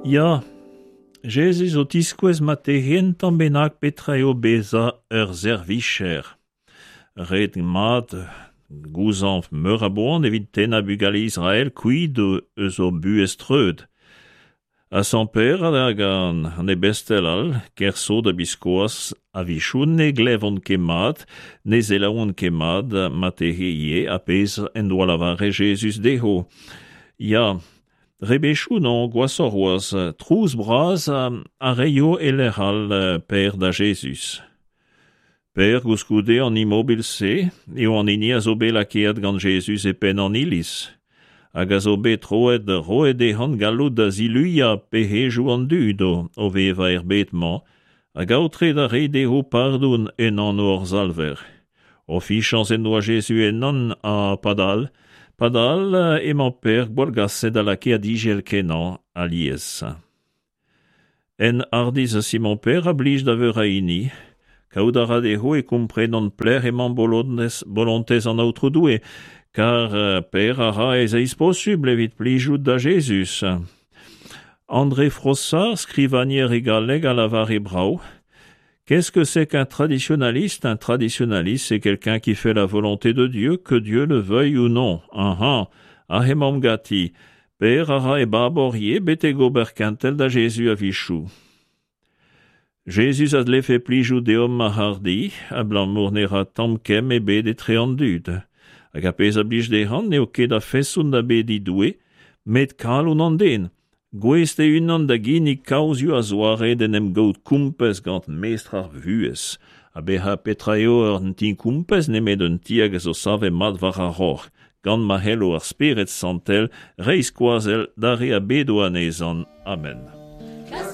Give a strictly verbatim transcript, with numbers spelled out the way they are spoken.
Ya, Jezuz o tiskouez ma tehent tamm bennak petra eo bezañ ur servicher. Ret mat gouzañv meur a boan evit tennañ bugale Israel kuit eus o buhez treut. Ha sant Pêr hag an, an ebestel all, ker sot ha biskoazh, a-wechoù ne glevont ket mat, ne selaouont ket mat marteze ivez ar pezh en doa lavaret Jezuz dezho. Ya, rebechoù non, gwashoc'h c'hoazh, trouz bras a reio e lec'h all Pêr da Jezuz. Pêr koulskoude an imobil-se eo an hini a zo bet lakaet gant Jezuz e penn an iliz, hag a zo bet troet roet dezhan galloud da ziluiañ pec'hedoù an dud o, o vevañ er bed-mañ, hag aotre da reiñ dezho pardon en anv hor Salver. O fichañs en doa Jezuz ennañ ha padal, padal emañ Pêr gwallgaset ha lakaet izel-kenañ alies. En hardizh Simon-Pêr a blij da veur a hini, kaout a ra dezho e komprenont pelec'h emañ bolontez, bolontez an Aotrou Doue, kar Pêr a ra e seizh posubl evit plijout da Jezuz. André Frossard, skrivagner e galleg, a lavare brav. Qu'est-ce que c'est qu'un traditionnaliste? Un traditionnaliste, c'est quelqu'un qui fait la volonté de Dieu, que Dieu le veuille ou non. Aha, aze emaomp ganti. Pêr a ra e babor ivez betek ober kentel da Jezuz a-wechoù. Jezuz a dlefe plijout deomp a-hardi, abalamour ne ra tamm kemm ebet etre an dud. Hag ar pezh a blij dezhañ n'eo ket a-feson da bediñ Doue, met kalon an den. Gouest e-unan da ginnig kaozioù a-zoare d'en em gaout kompez gant mestr ar vuhez. Ha bezañ petra eo un ti kompez nemet un ti hag a zo savet mat war ar roc'h, gant ma c'hello ar Spered Santel reiñ skoazell d'ar re a bedo anezhañ. Amen.